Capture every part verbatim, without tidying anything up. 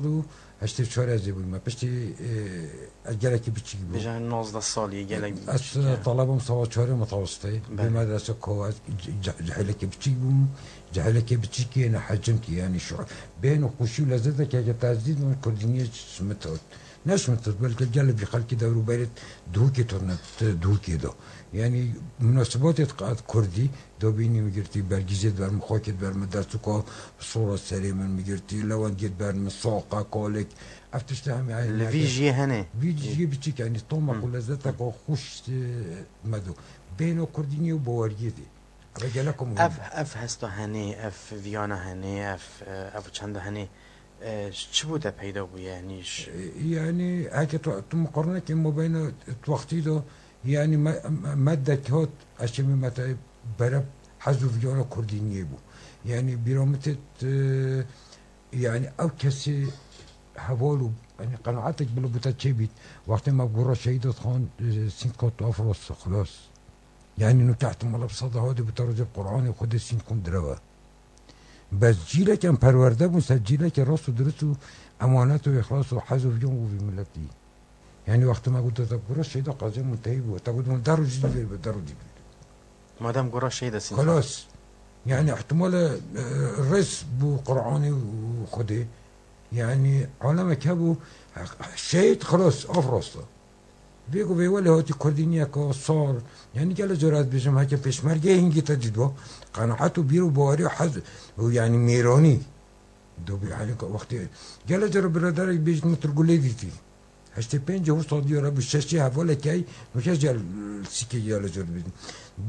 û heştê çar ez ê bûyî me. Piştî, e, ez gelekî biçîk bûm. Bêje nozdeh salî, gelek biçîk e. Ez talebim sava çarê mitawistê. Belê. Bê medrese kova, ce-, ce-, cehilekê biçîk bûm. Cehilekê biçîkî yê ne hecimkî, yanî şu-, bêhn û xweşî û lezzeteke ke te ez dît min kurdîniyê şimit hat. Ne şimit hat, belke gelek vî xelkî dewrûberê dihûkê tune, ti dihûkê de. Yanî munasibatê qat kurdî, dobînî min girtî, bergîzê diber min, xakê diber min, dertûka sora serê min min girtî, lewendiyê diber min, saqa, kalik, ev tiştê hemî Li vî jiyê hene. Vî jiyê biçîk, yanî tomek û lezzeteka xweş, e, me do. Bêhna kurdîniyê û baweriyê dê. Eve gelek û Ev, ev hesta henê, ev viyana henê, ev, e, ev çenda henê, e, çi bû te peyda bûye? Yanî ş- E, yanî heke tu, tu miqarnekê mabeyna wextî de, yanî me, me, me dekhat, ez çimî me te bere hez û viyana kurdîniyê bû. Yanî bîra min têt, e, yanî ew kesê heval û, yanî qenaetek bila bi te çêbît. Wextê me gura şehîd hat xan, e, sînd kat afros, xilas. Yanî nûke ihtimala bi seda hadê bi te rojê Qur'anê Xwedê sînd xwin direve. Bes cîlek em perwerde bûn ser cîlekê rast û dirist û emanet û îxlas û hez û viyan û vî miletî. Yanî wextê me got te gura şehîda qezê muntehî bû. Te got min de rojî dî vêr be, de rojî dî vêr. Madem gura şehîda sîn. Xelas. Yanî ihtimale, e, rêz bû Qur'anê û Xwedê. Yanî alemek hebû, şehîd xelas, af rasta. Vê ku vê welê hatî kurdîniyeke sar, yanî gelek cara ez dibêjim, heke pêşmergeyê hingî te dîtba, qenaet û bîr û bawerî û hez û yanî mêranî. Do bî, yanî wextê gelek cara biraderek bêjit min tu li Gulê dîtî. Heştê pêncê wisa diyar hebû, şeşê hevalekê, nûke jî sîkê gelek cara dibêjin.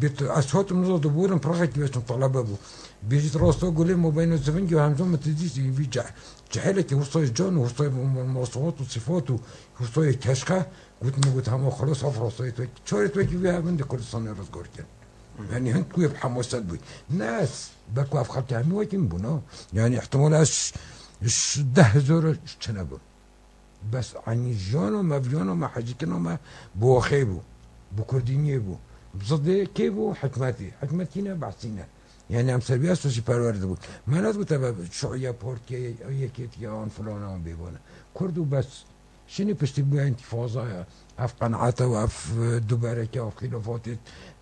Bêt, ez hatim niza diborim, pirexekî beşim talebe bû. Bêjit rasta Gulê mabeyna zivingî û hemzû min tu dîtî, vî ceh-, cehilekî wisa can û wisa mosifat û sifat û Rûstoyê keşxe, got min, got, hema xelas, ev rastayê tu, çarê tu wekî vê hebin di Kurdistanê rizgar kin. Yanî hin ku yê bi hemaset bûy. Ne ez, belku ev xelkê hemî wekî min bûn, ha. Yanî ihtimal ez ş-, ş-, deh hezar çi nebim. Bes, yanî jiyana me, viyana me, hecîkirina me bi waxê bû, bi kurdîniyê bû. Bi zidê kê bû? Hikmetî. Hikmetî ne, behsî ne. Yanî em ser vî esasî perwerde bûn. Me negot eve şuiye, partiye, yekêtiye, an filan an bêvan e. Kurd û bes. Şinî piştî bûye întîfazaya, ev qenaeta û ev, e, dubereke û xîlafatê,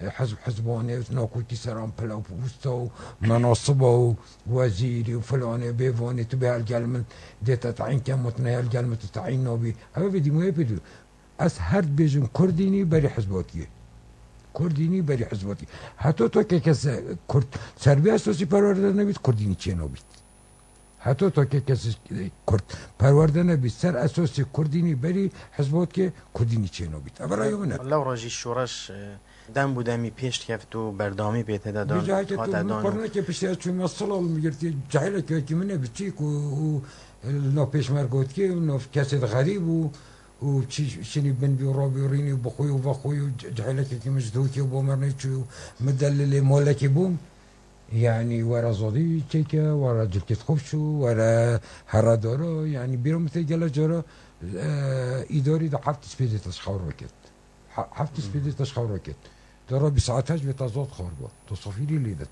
e, hizb, hizbanê û nakokî seran pile û posta û menasiba û wezîrî û filanê bêvanê tu bê hel gel min dê te tayîn kem û tu nehel gel min tu tayîn nabî. Ev vê dîmoyê pê dû. Ez her dibêjim kurdînî berî hizbatiyê. Kurdînî berî hizbatiyê. Heto to ke kes, e, kurd ser vê esasî perwerde nebît, kurdînî çê nabît. Heto to ke kes, e, kurd perwerde nebî, ser esasê kurdînî berî hizbotke kurdînî çênobît. Ev raya min e. Lewra jî şoreş, e, dem bû demî pêş dikevt û berdewamî pê tê de dan, Vêca heke tu hate min dan û qurneke piştî ez çûme Silal min girtiye, cehileke wekî min e biçîk û, û, e, li nav pêşmergotkê û nav kesê de xerîb û, û çi şinî bin bî û rabî û rînî û bixwî û vexwî û ce-, cehilekekî min ji dûkê û bo mernê çû û min delilê molekê bûm. Yanî were zodî çêke, were cilkêt xweş û were here doro. Yanî bîra min tê gelek cara, e, îdarî de heft spêdê te ji xew reket. He-, heft spêdê te ji xew reket. Tu rabî saet heşt vê te zod xwar bo. Tu sofîrî lê dit.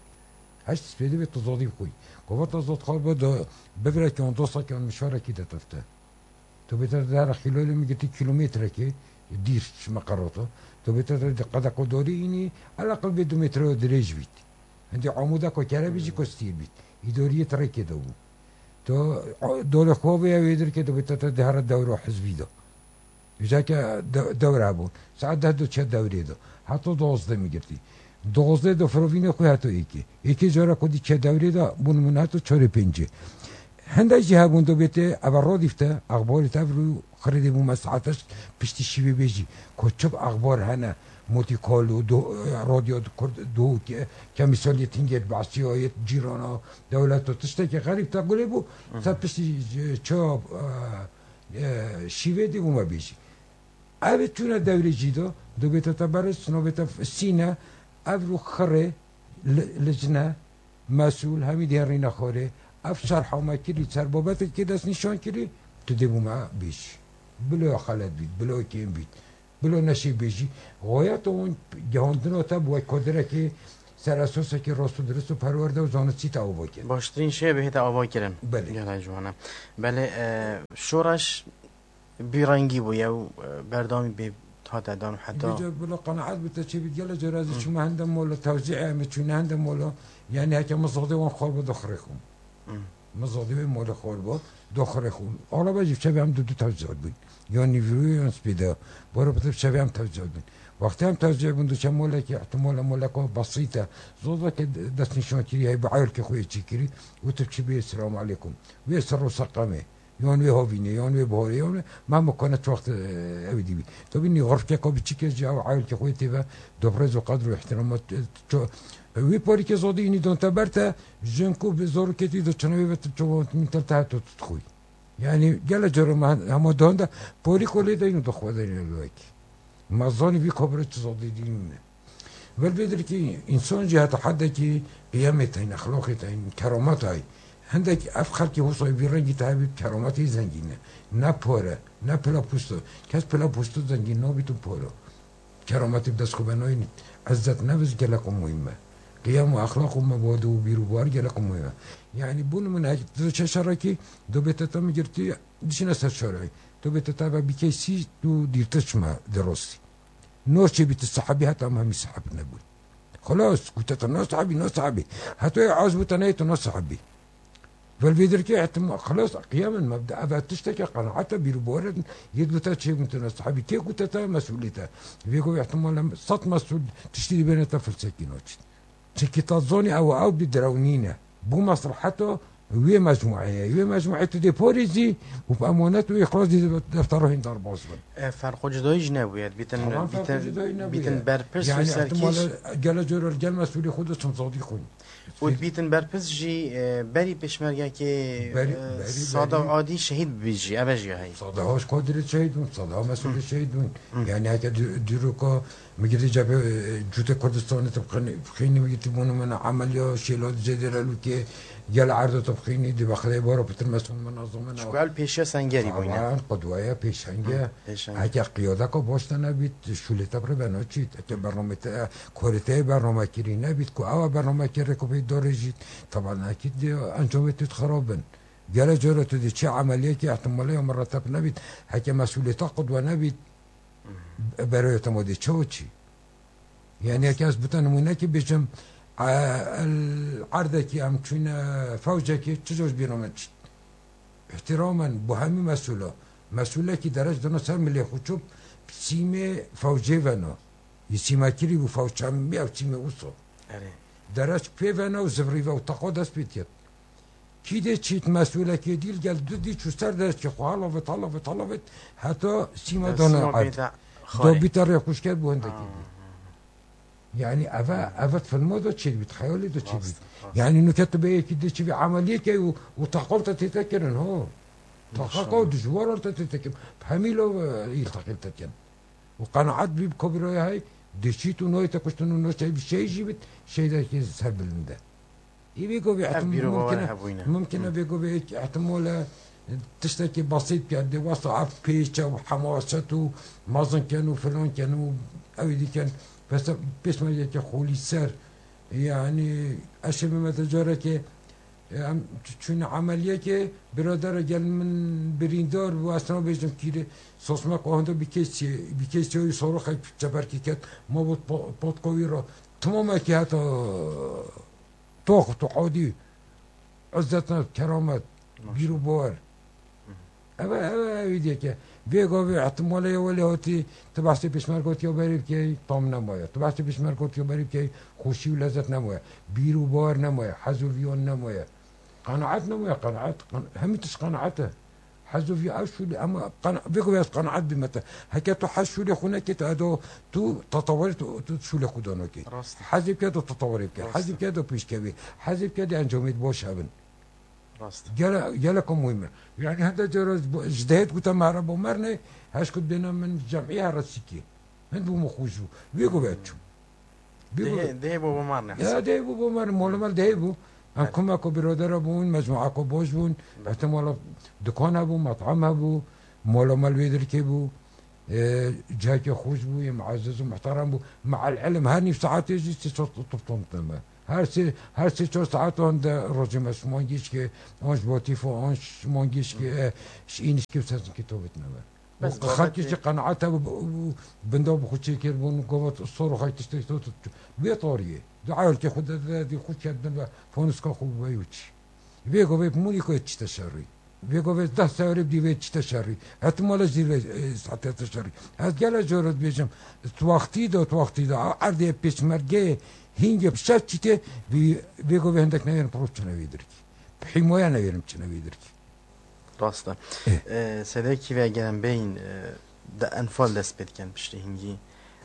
Heşt spêdê vê tu zodî bixwî. Ku va te zod xwar bo, do bivirekî an dostekî an mişarekî de tefte. Tu bê te dihera xîlolê min girtî kîlometrekê dîr ji me qerota. Tu bê te di qedeqo dorî înî, eleqil bê du metre dirêj bît. Hindî amûdeko kere bî jî kostiyê bît. Îdoriyê ti rêkê de bû. Tu, o, dolê xwe vê ya wê dirkê tu bê te te dihera dewro hizbî de. Vêca ke de-, dewre hebûn. Saet deh do çe dewrê do. Heto dozdeh min girtî. Dozdeh do firovînê xwe heto êkê. Êkê cara ku dî çe dewrê de bûn min heto çarê pêncê. Hindek jî hebûn do bêtê eve radîfte, exbarê te ev rû xirê dê bû me saet heşt piştî şîvê bêjî. Ku çi exbar hene, motî kal û do-, radyo kurd do ke-, kemîsaliyê tingêt behsî ayêt cîrana dewlet û tiştekê xerîb te gulê bû. Te piştî, e, çawa, e, e, şîvê dî bû me bêjî. Ev çûne dewrê jî do, dibête te beris, nobête sîne, ev rû xirê, li-, licne, mesûl, hemî dê rîne xorê. Ev şerha me kirî, ser babetekê dest nîşan kirî, tu dê bû me bêjî. Bilo xelet bît, bilo kêm bît, bilo neşê bêjî. Xweyeta hûn gehandina te bi wek koderekê Ser esosekî rast û dirist û perwerde û zanistî te ava kir. Baştirîn şêwê bihête ava kirin. Belê. Gelek ciwan e. Belê, e, şoreş bîrengî bûye û, e, berdewamî pê hate dan û heta. Vêca bila qenaet bite çi bît, gelek cara ez Hı. çûme hende mola tewzî, em çûne hende mola, yanî heke min zodê wan xwar bo doxirê xwe. Hı. Min zodê wê mola xwar bo doxirê xwe. Alaba jî çevê em du du tewzî bûn. Yan nîvroyê yan spêda. Bora bitir çevê em tewzî bûn. Wextê em tewzî bûn, diçe molekî, ihtimala moleka besît e. Zod veke destnîşankirî heye, bi eyalkê xwe yê çêkirî. Û tu çi bê, selamu aleykum. Wê ser û seqemê. Yan wê havînê, yan wê biharê, yan wê, me mukane çi wext, e, ew dî bî. Tabî nî xurfkeka biçîk e jî ew eyalkê xwe tê ve, dobrêz û qedr û îhtiramat, e, ço-, wî parîkê zodî înî dan te ber te, jin ku bi zaroketî de çinavê ve tu çawa min tel te heto tu dixwî. Yanî gele cara me hema dan de parîko lê deyno dixwe deyno lewekî. Me zanî vî kabire çi zodî dî nîne. Vel vê dirkî însan jî heta heddekî qiyemê tayîn, exlaqê tayîn, keramet tayîn. Hindek ev xelkê wisa vî rengî te hebî kerametê zengîn e. Ne pare, ne pila posto. Kes pila posto zengîn nabît û pare. Kerametê bi dest xwe ve nayînî. Ezzet nefs gelek muhîm e. Qiyem û exlaq û mebade û bîr û bawer gelek muhîm e. Yanî bû nimûne hek tu diçe şerekî, do bê te te min girtî, diçine ser şerê. Do bê te te ve bikey sî, tu dîrtir çima di rostî. Noçê bî tu sehebî heta em hemî seheb nebûn. Xelas, ku te tu nasehebî, nasehebî. Heta yê az bû te neyê tu nasehebî. Vel vê dirkê hetim, xelas, qiyamen mebda, eve tişteke qenaete bîr û bawer yê dû te çêbûn tu nasehebî. Kê ku te te mesûlê te. Vê ku ihtimal em sed mesûl tiştî dibêne te filsekî naçît. Çikî ta zonî ew, ew bi direw nîne. Bû mesleheta wê mecmueyê ye. Wê mecmueyê tu dê parêzî û bi emanet û îxlas dî deftera hîn derbas bin. E, ferqo cudayî jî nebûye. Bîtin, Tamam, ferqo bîtin, cudayî nebûye. bîtin berpirs û Yani serkêş. ihtimal gele coro gel mesûlê xwe de çim zodî xwîn. Û bîtin berpirs jî, e, berî pêşmergekê, Berî, e, berî, sada berî. adî şehîd bibî jî. Eve jî ya heyî. Sada hoş Kadirê şehîd bûn, sada mesûlê şehîd bûn. Yani heke dî-, dîroka Migirî cebê, e, cûtê Kurdistanê tu bixînî, bixînî migirî bûnû min emeliya şêla di cedê re lûkê gel erdo tu bixînî, di bexdeyê baro pitir mesûl min nazim min. Çku el pêşiya sengerî bûyne. Taban, qudweye, pêşenge. Hı, pêşenge. Heke qiyadeka baş te nebît, şûlê te bi rê ve naçît. Heke bernamê te, korê te yê bernamekirî nebît, ku ewa bernamekirê ku pê dorê jît, taban ekîd dê encamê tu xirab bin. Gele cara tu dê çi emeliyekî ihtimale ya mireteb nebît. Heke mesûlê te qudwe nebît, Beroya te modê çawa çî? Yani, yekî ez bite nimûnekî bêjim, e, el erdekî em çûne fewcekî çi coş bîra min çît. Îhtiramen bo hemî mesûla. Mesûlekî derec dina ser milê xwe çûp sîmê fewcê veno. Yî sîmekirî bû fewç hemî ew sîmê wisa. Erê. Derec pê veno û zivrî ve û teqa dest pê diket. Kî dê çît mesûlekê dîl gel du dî çû ser destê xwe, helavit, helavit, helavit, heta sîma Dest dana sîma erd. bêta Do xwarê. bîta rê xuşker bû hindekî Ha, bî. ha. Yani eve, eve filmo da çêdibît, xeyalê da çêdibît. Rast, rast. Yani nuke tu bê yekî dê çivî emeliyê key û, û taqal te tête kirin, ho. Taqal Maşallah. dijwaran te tête kirin. Hemî lo, e, îl taqil te kirin. Û qenaet bî bi kobîroya hey, dê çît û noyê te kuştin û no şey bî, şey jî bit, şeydekî serbilind e. Î vê govê Ev ehtim-, bîro mumkin e, hebûyne. mumkin e Hı. vê govê ehtimol e, tiştekî besît ke, dê wesa ev pêç e û hemaset û mezin ken û filan ken û ew dî ken. Pes-, pêşmergeke xolî ser. Yani, ez şê bime te carekê, e, em ç-, çûne emeliyekê, biradere gel min birîndar bû, ez tena bêjim kîrê, sosmek ahinde bi kesî, bi kesî wî soroxek çeperkî ket, ma bot po-, potka wî re. Timamekî heta Tox, tu adî, izzet ne, keramet, Maşallah. bîr û bawer. Hı hı. Eve, eve, ev diyeke. Vê gavê ihtimale ye welê hatî, tu behsê pêşmergotiya berê bikey, tam nemaye. Tu behsê pêşmergotiya berê bikey, xweşî û lezzet nemaye. Bîr û bawer nemaye, hez û viyan nemaye. Qenaet nemaye, qenaet, qen-, hemî tişt qenaet e. Hez û vî ev şûlê, em qena-, vê ku ez qenaet bîme te. Heke tu hez şûlê xwe nekê, tu edo, tu tatawarê tu, tu şûlê xwe danokê. Rast. Hezê bike tu tatawarê bike. Rast. Hezê bike tu pêşkevê. Hezê bike de encamê baş hebin. Rast. Gele, geleka muhîm e. Yani hende cara ji dehêt gote merheba mernê, heşkut bêne min cemî here sîkê. Hind bû min xweş bû. Vê ku ve çû. Vê ku Dehê, dehê bû bo mar ne Ya Hesen. dehê bû bo mar, mola mal dehê bû. Em Evet. kumeko birodera bûn, mecmuako boş bûn. Evet. Ehtimala dukan hebû, mat'am hebû, mola mal wê dirkê bû. E, cihekê xweş bû, yê muezziz û muhterem bû. Me'el ilm her nîv saetê jî sê çar top tom tine me. Her sê, her sê çar saet an de rojê me ji mangî şikê, an ji Batîfo, an ji mangî şikê, e, ji Înişkê û Sezingkê top tine me. Bes Û xelkê babetê jî qenaet hebû, û binda bi xwe çêkir bûn, gava sor û xay tiştek to tu. Vê tariyê. Di ayolkê xwe de, de, de xwe kerdin ve foniska xwe bi vey û çi. Vê govê bi Mûnîko çi te şerî. Vê govê deh sewrê bi dî vê çi te şerî. Hetimala jî vê, e, saetê te şerî. Ez gele jor dibêjim, tu wextî de, tu wextî de, a erdê pêşmergeyê hîngê bi şev çîtê, vê, vê govê hindek newêrim piro çine vê dirkî. Bi hîmoya newêrim çine vê dirkî. Rast e. Eh. E, sedekî ve gelen beyin, e, de enfal dest pê dikin piştî hingî.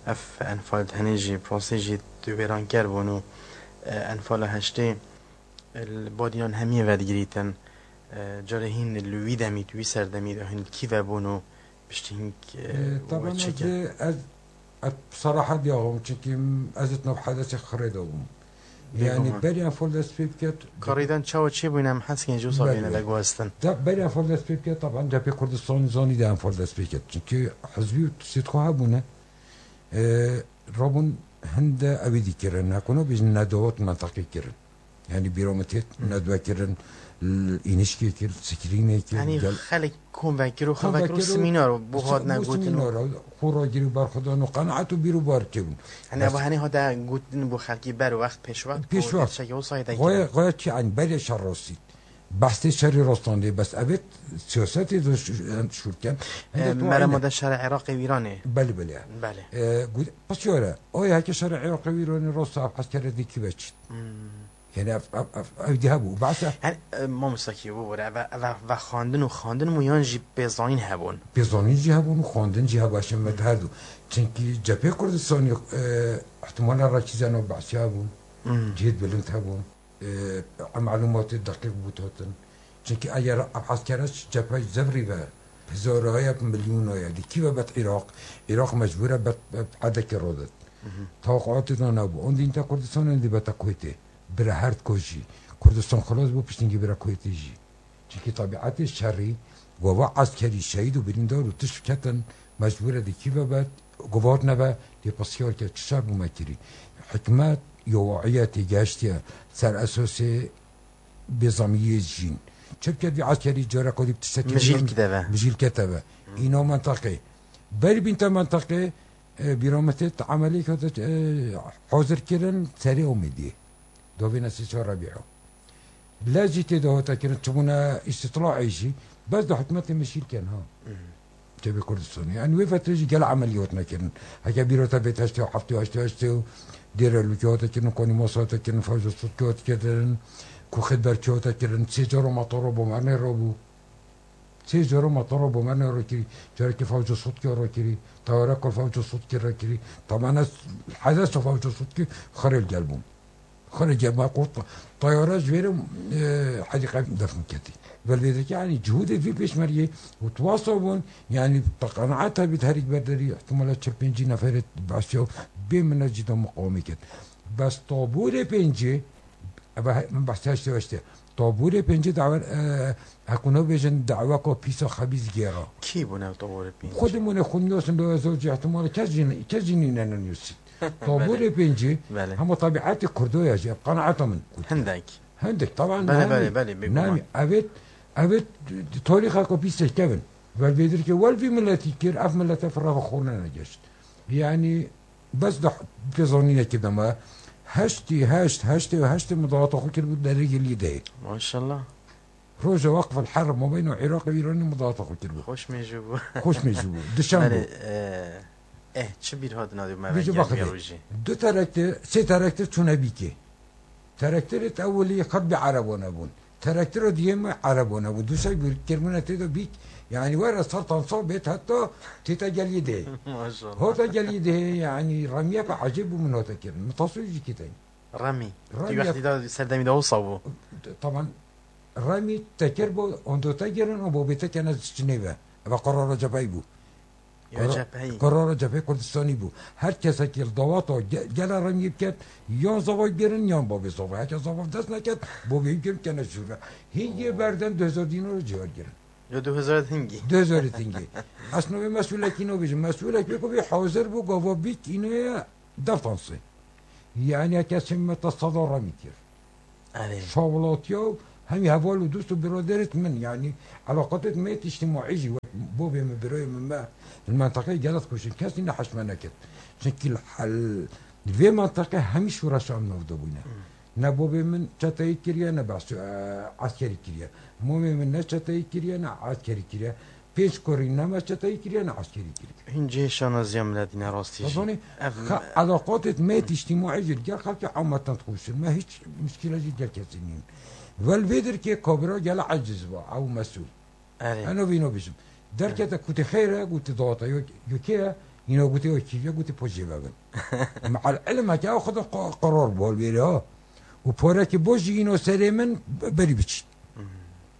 Ev enfal tenê jî, prosê jî tu wêranker bûn û, e, enfala heştê, e, li badînan hemiyê vedigirîtin. E, carê hîn li wî demî, wî serdemî de hîn kî vebûn û piştî hîn, e, E, taban we çi ez, kir? ez, ez bi serahet diyawim, çünkü ez it nav hedesê xirê de bûm. Bêguman. Yani berî enfal dest pê biket. Karîdan çawa çêbûyne em heskên ji wisa Belê. bêne veguhestin. Da berî enfal dest pê biket, taban cephê Kurdistanê zanî de enfal dest pê ket. Çünkü hizbî û tiştê xwe hebûne. E, rabûn hinde evî dikirin. Nekuna bêjin nedawat menteqî kirin. Yani bîra min têt Hı. nedwe kirin, l-, înişkê kir, screenê kir, Yanî gel- xelk kom vekir û Kom xelk vekir û vekir û semînar û bo s-, hatine bo gotin û semînar û xwe ragirî û berxwedan û qenaet û bîr û bar çêbûn. Hani Bes- ev hani hate gotin bo xelkî ber wext pêş wext Pêş bo wext. tiştekî wisa hate Goya, kirin. goya çi, yani berê şer rastî. Behsê şerî rastandê, bes evet siyasetê de ş-, şûrken. Hinde E, tu merema ayne. de şerê Iraqê û Îranê. Belê, belê. Belê. E, gu-, pisyare, oya heke şerê Iraqê û Îranê rast ev eskerê dikî ve çît. Hmm. Yani ev, ev, ev, ev dî hebû. Behsa Yani, e, mamosta kî bû bûre, ve, ve, ve xwendin û xwendin mû yan jî pêzanîn hebûn? Pêzanîn jî hebûn û xwendin jî hebû, eşê me Hmm. her du. Çünkü cephê Kurdistanê, e, ihtimala rakîze nav behsiya hebûn. Hmm. Cihêt bilind hebûn. E, em malûmatê deqîq bû hatin. Çünkü eger ev eskere ji cepheyê zevrî ve, hezaraya, milyonaya, di kî ve bet Iraq, Iraq mecbûr e bet, bet hedekê rodet. Mhm. Tawaqatê de nebû. On dîn te Kurdistanê dî bete Kuwêtê. Bira her ko jî. Kurdistan xilas bû, piştî bira Kuwêtê jî. Çimkî tabiatê şerî, gava eskerî, şehîd û birîndar û tişt ketin, mecbûr e di kî ve bet, gava hatine ve, dê pisyar ke çi şer bû me kirî. Hikmet, yowayî ye têgihiştiye ser esasê bêzamiyê jîn. Çi biket vî eskerî careka dî bi tiştekî Mijîl bînin, kide ve. mijîl kete ve. Îna menteqê. Berî bîn te menteqê, e, bîra me tê te emelî kete, e, hazir kirin serê Omêdiyê. Dovêne sê çar Rebîa. Lez jî tê de hate kirin, çibûne îstîtlaê jî, bes di hikûmetê min şîr ken ha. Mhm. Çevê Kurdistanê. Yani wê fetrê jî gel emeliyat nekirin. Heke bîra te bê heştê û heftê û heştê û heştê û dêre lûkê hate kirin, konî mas hate kirin, fewca sudkê hate kirin, ku xidberkê hate kirin, sê cara matara bomerne rabû. Sê cara matara bomerne rakirî, carekê fewca sudkê rakirî, tayareka fewca sudkê rakirî. Tamane hedesa fewca sudkê xirê gel bûn. Xirê gel ma qurt tayara ji vêre, e, hedîqe defn ketî. Velvêdeke, yani cihûdê vî pêşmergê û tuwasa bûn, yani te qenaet hebît herîk berderî, ihtimala çil pêncî neferê behsiya bê minet jî de muqawimê ket. Bes tabûrê pêncê, eve he-, min behsê heştê heştê. Tabûrê pêncê dawe, e, hekûna bêjin daweka pîsa xebîs gêra. Kî bûne tabûrê pêncê? Xwedê mûne xwe niyosîn, lo ez cî ihtimala kes jî, kes jî nîne niyosîn. Tabûrê Belê. pêncê, Belê. hema tabiatê Kurdo ya jî, ev qenaeta min. Hindek. Hindek, taban Belê, nami, belê, belê, bêguman. nami, evet, evet, tarîxeka pîsek kevin. Vel vê dirkê wel vî miletî kir, ev milete firava xorne negeşt. Yani, bes de pêzanînekî de me, heştî heşt, heştê û heştê min dawata xwe kiribû derê gelî de. Maşallah. Roja Waqf el Herr mabeyna Iraq û Îranê min dawata xwe kiribû. Xweş mêjû bû. Xweş mêjû bû. Dişan Belê, bû. e, eh, çi bîr hatina dê me Bêje vengê vê baxilê. rojê? Du terektir, sê terektir çûne bîkê. Terektirê ewilî xet bi Erebane bûn. Terektira diyê me Erebane bûn. Du sey bîr kirmine tê de bîk. Yani were sertan sal bêt heta têta gelî dê. Maşallah. Hota gelî dê, yani remiye be ecêb bû min hota kirin. Min tasû jî kitên. Remî. Remî Ti wextî yap- da serdemî de wisa bû. Taban, Remî te kir bo, ondo te girin, o bo bê te kene çinê ve. Eva qarara cepheyî bû. Ya Qara-, cepheyî. qarara cepheyê Kurdistanî bû. Her kesekî li dawata ge-, gela Remî biket, yan zava girin, yan babê zava. Heke zava dest neket, bo bê girin kene şûre. Hingê berden du hezar dînar cihar girin. Yo, du hezar hingî. Du hezar hingî. Ez navê mesûlekî nabêjim. Mesûlek wê ku bê hazir bû, gava bît, îno ye deftansê. Yani kesê me te seda remî kir. Erê. Şawilatiya û hemî heval û dost û biraderêt min, yani elaqatêt me yêt îctîmaî jî, wek bobê min, birayê min me, li menteqeyê gelek kuştin, kesî ne heşme nekir. Çunkî li hel-, li vê menteqe hemî şûreşa em nav de bûne. Hmm. Ne bobê min çeteyî kiriye, ne behsê, e, eskerî kiriye. Momê min ne çeteyî kiriye, ne eskerî kiriye. Pênc kurî ne me çeteyî kiriye, ne eskerî kiriye. Hîn cihê şanaziya miletî ne rastî jî. Dizanî, Ev xe-, elaqatêt me yêt îctîmaî jî li gel xelkê ameten dixuşin. Me hîç muşkîle jî gel kesî nîn. Wel vê dirkê kabira gele eciz ba, ew mesûl. Erê. Eno vîno bijim. Derkete kutê xeyr e, gotê dawata yo, yo kê ye? Yîna gotê yo kî ye? Gotê po jê vebin. Meal ilim heke ew xwe de qa-, qerar bû hol vêrê ha. Û porekî bo jî yîno serê min be-, berî biçî. Hmm.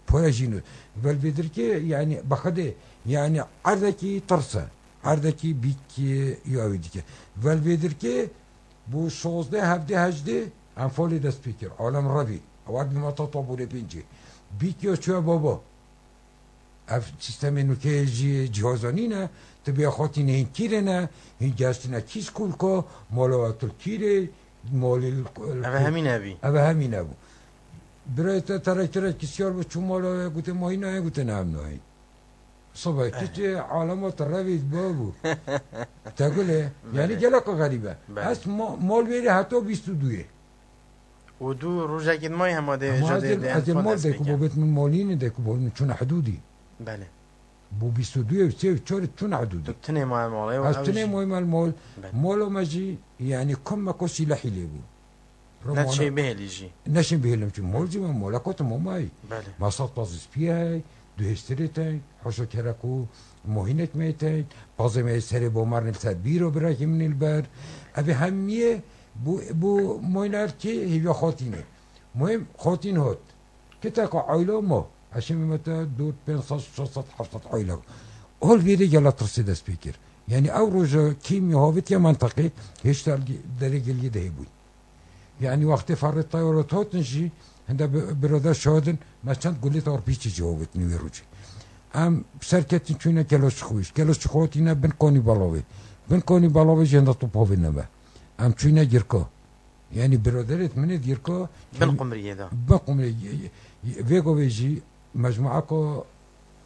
Pore jîno. Vel vê dirkê, yani, bi Xwedê, yani, erdekî tirs e. Erdekî bîk, e, ya wî dike. Vel vê dirkê, bû şozdeh, hevdeh, hejdeh, em falê dest pê kir. Alem revî. Ew erdî ma ta tabûrê pêncî. Bîk ya çûye baba. Ev sîstemê nûke jî cihazanî ne, tu bê xatî ne hîn kîrê ne, hîn geştine kî skulko, mala we tu kîrê, malê l-, l-, Ev hemî nebî. Ev hemî nebû. Birayê te terektirek kisyar bû, çû mala we, gotê, "Ma hîn nayê?" Gotê, "Ne, em nayê." Sobe, Eh. kiçê alema te revî babû. Te gulê, yani Belê. gelek xerîb e. Belê. Ez ma-, mal vêrê heta bîst û duyê. Û dû rojekê di mayî hema dê Ama jê ez dê ê, dê ez ê enfal mal dest dê ku pê bo ke. bêt min malî ne dê ku bo min çûne hidûdî. Belê. Bo bîst û duyê û sê û çarê çûne hidûdî. Tu tinê maye malê, Ez ew tinê jî moyî mal mol. Belê. Molo me jî, yani, kom me ko sîlehî lê bû. Ne Romana çê bihêlî jî. Neşin bihêlim çû mol jî me mol, e ko tu mamayî. Belê. Ma sed pazî spî hey, du hêstirê tey, hoşo kere ku mohînek me tey, pazê me serê bo mernê ser bîro birakî min li ber. Ev hemiyê Bu, bu moyner ki hêviya xotînê. Muhim xotîn hot. Kiteka aylo mo. Eşê me mete dûr pênc sed, şeş sed, heft sed aylo. Hol vêrê gela tirsê dest pê kir. Yani ew roja kîmya havitiye menteqê hêşta derê geliyê de hebûn. Yani wextê ferrê tayarot hotin jî, hinde bi-, birada şahidin, me çend gulê tawr pîçê jî hovitin wê rojê. Em serketin çûne Keloçixwîş. Keloçixwîş hotine bin konî balavê. Bin konî balavê jî hinde top hovê nebe. Em çûyne Girko. Yani biraderêt min ê Girko Bin Qumriyê de. Bin Qumriyê. Vê govê jî mecmua ku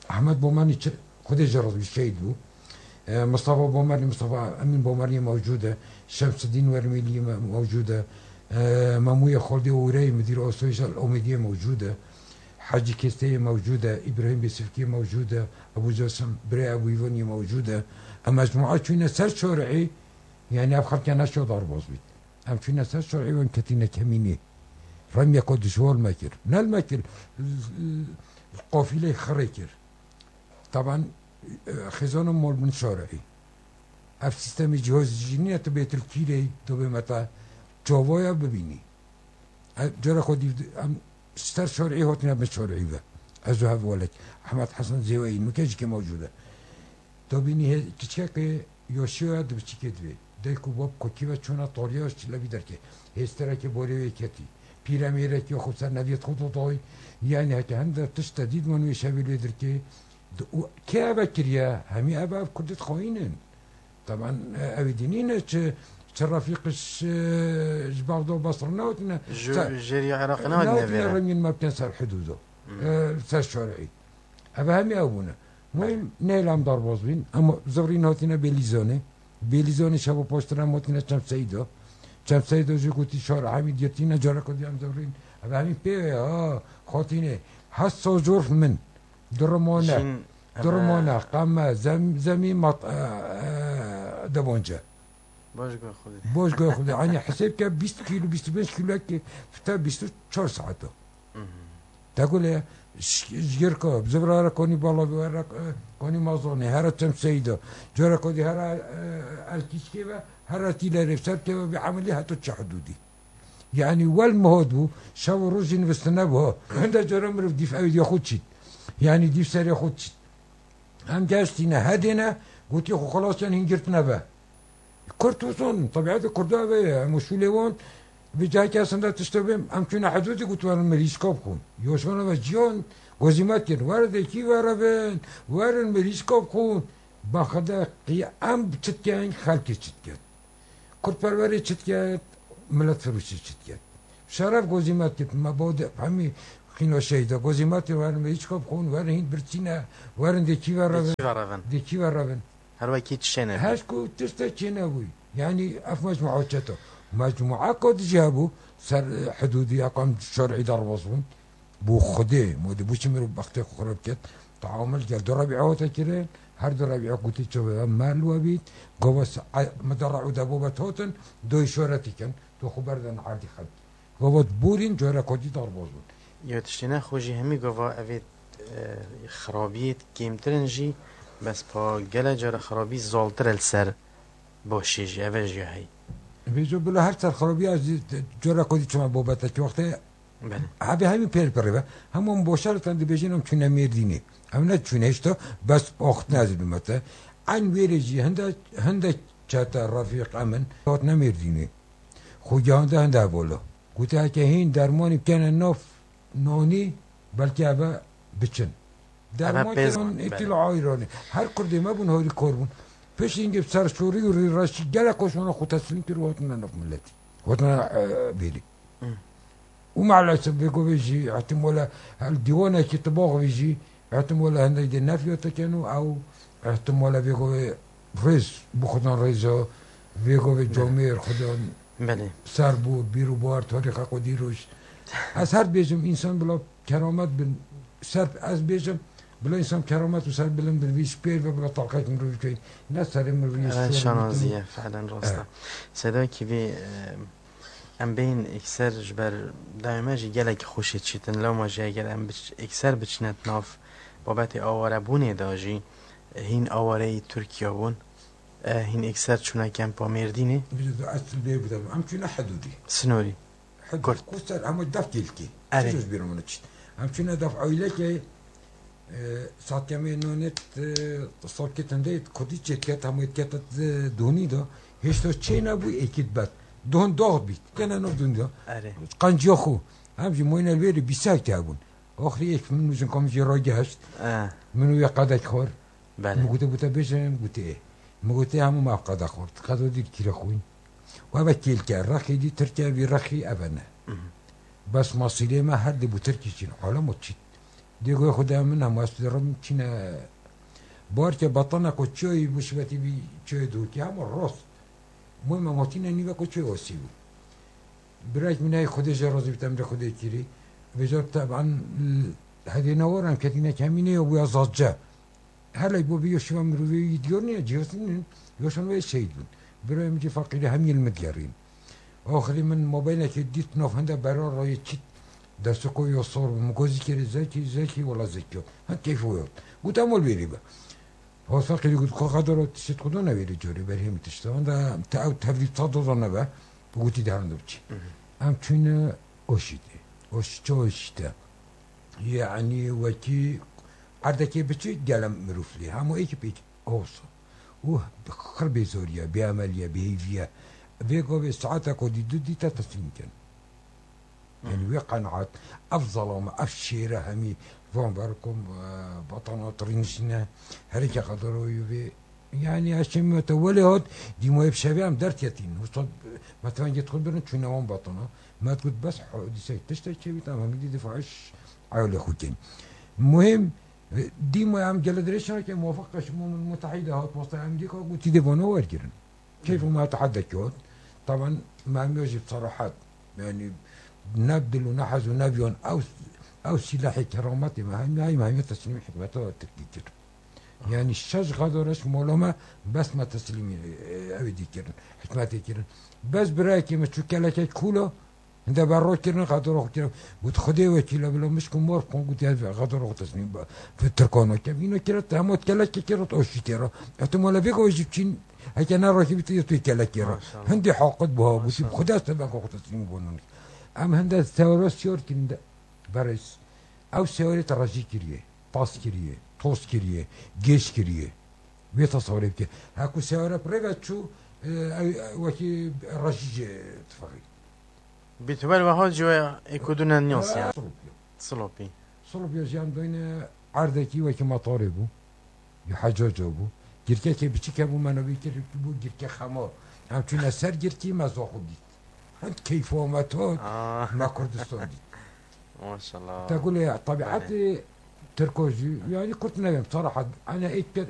Ahmet Bomanî çi-, Xwedê jê razî bî, şehîd bû. E, Mustafa Bomanî, Mustafa Emîn Bomanî mewcûd e. Şemsidîn Wermêlî me-, mewcûd e. E, Memûyê Xaldê Ûreyî, Midîr Asayîşa Omêdiyê mewcûd e. Hecî Kêsteyê mewcûd e. Îbrahîm Bêsifkî mewcûd e. Ebû Casim, birê Ebû Îvanî mewcûd e. Em mecmua çûyne ser şarî, yani ev xelke neşo darbaz bît. Em çûne ser şerî û em ketîne kemînê. Remyeko dijwar me kir. Nel me kir, qafîlê xirê kir. Taban, e, xêzano mol bin şerî. Ev sîstemê cihazî jî nîne tu bê tilkîrê, tu bê meta çavaya bibînî. E, cara xwe dîv, em ser şerî hotine bin şerî ve. Ez û hev welek. Ehmed Hesen Zêweyî, nuke jî ke mewcûd e. Tu bînî hê-, kiçikekê Yoşiyo ya di biçîkê divê. Dayk û bab kokî ve çûna tariya çilevî derkê. Hêsterekê borê wê ketî. Pîremêrekê xwe ser neviyet xwe dodayî. Yani heke hende tişt te dît man wê şevê lê dirkê. Di-, û kê eve kiriye? Hemî ev, ev kurdêt xayîn in. Taban, e, ew ê dînî ne çi, çi refîq ji, ji Bexda û Basra newtine. Ji, Ser-, jêrî Iraqê newtine newtine vêre. Rengîn me bikin ser hidûdo. Hmm. E, ser şerî. Ev hemî ew bûne. Muhim, Belê. Neylam darbaz bîn. Em zivrîn hatine Bêlîzonê. Bêlîzonê şeva paştir em hatine Çem Seydo. Çem Seydo jî gotî şar hemî girtîne, careka dî em zivrîn. Ev hemî pê ve, ha, hatine. Hesa corf min. Durumane. Jin, Durumane, eve qeme, zem-, zemî mat-, e, e, debonce. Baş goy Xwedê. Baş goy Xwedê. Hani hesab ke bîst kilo, bîst û pênc kilo ki fite bîst û çar saet o. Mhm. Te gule ş-, jgirka, zivrara konî bala, wera, e, konî mazonê, hera Çem Seyda. Cara kodî hera, e, Elkîşkê ve, hera Tîlerê, ser ke ve bir ameli heta çi hududî. Yani wel mihot bû, şev û roj jî nivistine bû. Hinde cara mirov dîf ew diya xwe çît. Yani dîf serê xwe çît. Em geştîne, hedêne, gotî xwe xelas yan hîn girtine ve. Kurd û son, tebietê Kurda ve ye, em usulê wan, bi cahekî esinde tiştê bêm, em çûne hidûdê got werin mirî şkop xwin. Yoşana ve ciyan, Gozîmet kirin, werin dê kî verevin, werin mirîşka bixwin. Baxede qî-, em çi dikin, xelkê çi dikin. Kurdperwerê çi diket, miletfiroşî çi diket. Şeref gozîmet kit, me bo de hemî xîno şehîda. Gozîmet kit, werin mirîşka bixwin, werin hîn birçî ne, werin dê kî verevin. Dê kî verevin. Dê kî verevin. Her wekî tiştê nebû. Her ku tiştek çê nebûyî. Yanî ev mecmua çet e. Mecmua ku dijî hebû, ser, e, hidûdî ya ku em şerî derbas bûn. Bo Xwedê, modê bo çi mirov bextê xwe xirab ket. Teamul gel du Rebîa hate kirin, her du Rebîa gotî çawa me li we bît, gava se-, e, me de re'û de bo bet hatin, doyê şoretî kin, tu xwe berdin erdî xelkî. Gava borîn, cara kotî derbas bûn. Ya tiştê ne xwe jî hemî gava evê, e, xirabiyê kêmtir in jî, bes pa gele cara xirabî zaltir e li ser başê jî, eve jî ya heyî. Vêco bila her ser xirabiya jî cara kotî çima bo betekî wextê Belê. Hebê hemî pêr pirê be. Hemû em boşa li ten dibêjin em çûne Mêrdînê. Em ne çûne hişta bes axtine ez bimete. Eyn wêrê jî hinde, hinde çete refîq em in. Hatine Mêrdînê. Xwe gihande hinde hevala. Gote heke hîn dermanî bikene nav nanî belkî eve biçin. Derman pêz kirin, bûn, îtil belê. Ayranê. Her kurdê me bûn harî kor bûn. Piştî hingê bi serşorî û rîreşî gelek koşmana xwe teslîm kir û hatine nav miletî. Hatine, e, bêrî. Hı. Û maalesef vê govê jî ihtimale hel dîwanekî tibax vî jî ihtimale hindek dê nefya tekin û ew ihtimale vê govê rêz bi xudan rêza vê govê Belê. Camêr xudan Belê. Ser bû, bîr û bar, tarîxa xwe dîroş. Ez her bêjim, însan bila keramet bin, ser, ez bêjim, bila însan keramet û ser bilind bin, vî spêr ve bila talqek mirovî key. Ne serê mirovî, Ee, şanazî ye, felen rast e. Evet. Seyda Kîvî, e, em bêyîn êkser ji ber dayê me jî gelekî xweşê çîtin. Lewma jî eger em biç-, êkser biçine di nav babetê awarebûnê de jî, e, hîn awareyî Tirkiye bûn. E, hîn êkser çûne kempa Mêrdînê. Bide de esil bê bide. Em çûne hidûdî. Sinorî. Hidûd. Kurt. Ku ser hema def kêlkî. Erê. Çi ji bîra min çît. Em çûne def aylekê, e, satkemê nonet, e, soketinde kurdî çêket, hema ket, e, donî de. Hêşta çê nebû êkî bet. Don dox bît. Kene no dûn de. Erê. Qanciya xwe. Em jî moyne li wêrê bîsek te bûn. Oxirî yek min û jinka min jê ragiheşt. Eh. Min û yê qedek xwar. Belê. Min gote, gote bêje, min gote ê. Min gote hemû me ev qeda xwar. Qeda dî kîre xwîn. Û eve kêlke, rexê dî Tirkiye, vî rexî eve ne. Mhm. Bes masîlê me her dê bû Tirkî çîn. Alem o çît. Dê goya xwe de min hema ez dirim çîne. Barke batana ku çiyayî musibetî bî çiyayê dûkî hema rast. Muhim em hatîne nîve ku çiyayê wasî bû. Birayek min heye Xwedê jê razî bit, emrê Xwedê kirî. Vêca teban, hevê ne waran ketîne kemîne ya bûya zazce. Helê bo vê yo şiva mirovê yî diyor niye, cihazî nin, yo şan wê şehîd bûn. Birayê min cî feqîrî hemî li min digerîn. Axirî min mobaylekê dît, nav hinde bera rayê çît. Destoko yo sor bû. Min got zikirê zekî, zekî, wela zekî yo. Hin keyf o yo. Got em ol bêrî be. Hosakî got, "Xwe qedero tişt xudo nevêrî corê berhêmî tişt." Wenda te ew tevlî ta doza nebe, gotî de hende biçî. Mhm. Em çûne Oşîdê. Oşî çi Oşîte? Yanî wekî erdekê biçî gelem mirov lê. Hemû êkî pêk oso. Û xir bêzoriye, bêemeliye, bêhêviye. Vê govê saeta ku dî du dîte teslîm kin. Yanî wê qenaet, ev zelame, ev şêre hemî van ver ku, e, batana tirî nişîne, herêke qederoyî vê. Yanî ez çê me te welê hat, dîmoyê bi şevê em derketîn. Usta, me tevengê xwe birin çûne wan batana. Me got bes hodîsek tiştek çêbît, em hemî dî difaş ewlê xwe kên. Muhim, e, dîmoyê em gele dirêj nake, muwafaq Qeşîmo Mutehîde hat, wasta Amerîka gotî dê vana wergirin. Keyf û me hate hede kewt. Taban me hemiya jî bi serahet, yanî ne bi dil û ne hez û ne viyan ew, ew sîlehê kerametê me hemiya, me hemiya teslîmî hikûmeta Tirkî kir. Yanî şeş xedoreş mola me bes me teslîmî, e, ew dî kirin, hikûmetê kirin. Bes birayekê me çû kelekek kûla, Hinde berro kirin, xedora xwe kirin. Got, "Xwedê wekîl e, bila mişk û mor bixwin." Got, "Ez xedora xwe teslîm bi Tirkan nakim." Îno kire, te hema kelekê kir, o şîtê re. Ehtimale vê gavê jî biçîn, heke ne rakî bî, tu yê tu yê kelekê re. Maşallah. Hindê haqit buha, gotî, Maşallah. "Xwedê ez te ben xwe teslîm bonan." Em hinde sewre siyar kirin de, berêz. Ew sewrê te rejî kiriye, pas kiriye, toz kiriye, gêş kiriye. Vê tesewrê bike. Heku sewre pirê ve çû, e, ew, wekî rejî jê tifexî. Bîtwel weha ciwaya êkûdûne niyas ya. Silopî. Silopî. Silop ya jî em dayne erdekî wekî metarê bû. Ya hecaca bû. Girkekê biçîk hebû, me navê kir bû girke xemar. Em çûne ser girkî, me zaxo dît. Hend keyfa me tat, Ah, me Kurdistan dît. Maşallah. Te gulê tebiatê Tirko jî, yani kurt nebêm, sarahat. Ana êt ker